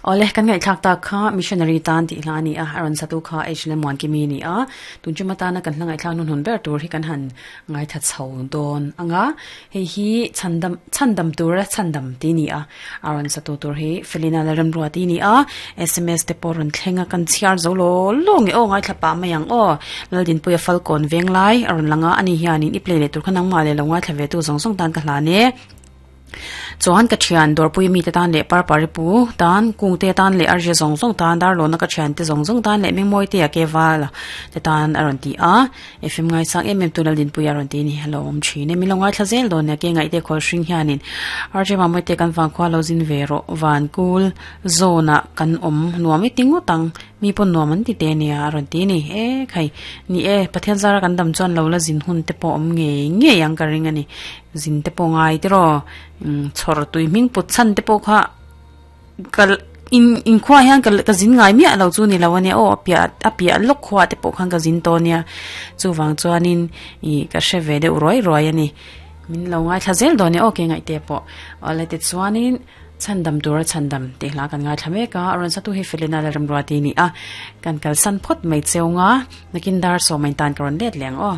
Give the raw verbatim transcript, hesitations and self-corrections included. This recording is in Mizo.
Ole kan ngai thlak ta kha missionary tan ti hla ni a aron satu kha h le mon ki mi ni a tun chuma ta na kan hla ngai thlak nun hun ber tur hi kan han ngai tha chho don anga hei hi chandam chandam tur a chandam ti ni a aron satu tur hi felina la ram ruwa ti ni a sms te poron thlenga kan chiar zo lo lo nge o ngai thla pa mayang o laldin puya falcon venglai aron langa ani hianin i play le tur khanang ma le lo ngai thla ve tu zong zong tan ka hla ne chuan ka thian dawrpui mi te tan leh par pari pu tan kung te tan leh arze zawng zawng tan dar lawna ka thian te zawng zawng tan leh mengmawi te a ke val te tan a rawn ti a fm ngai sang em em tu lal dinpui a rawn ti ni hello awm thin e mi lo ngai thla zel dawn nia ke ngaih te khawl hring hianin arze mamawii te kan vang khua lo zin ve rawh van kul zone ah kan awm nuam i ti ngawt ang mi pawn nuam an ti te nia a rawn ti ni e khai ni e pathian zara kan dam chuan lo la zin hun te pawh awm ngei ngei ang ka ring ani zin te pawh ngai te raw um chhawr tui hming put chhan te pawh kha kal in in khua hian ka ka zin ngai miah lo chu ni lo ania aw a piah a piah lawk khua te pawh khan ka zin tawh ania chuvang chuanin ih ka hre ve deuh ruai ruai ani min lo ngai thla zel dawn nia aw ke ngaih te pawh awle ti chuanin chandam tura chandam tih hla kan ngai thla mek a a rawn satu hi felina la ram ruati ni a kan kal san phawt mai cheu nga nakin dar sawm a in tan ka rawn let leh ang aw.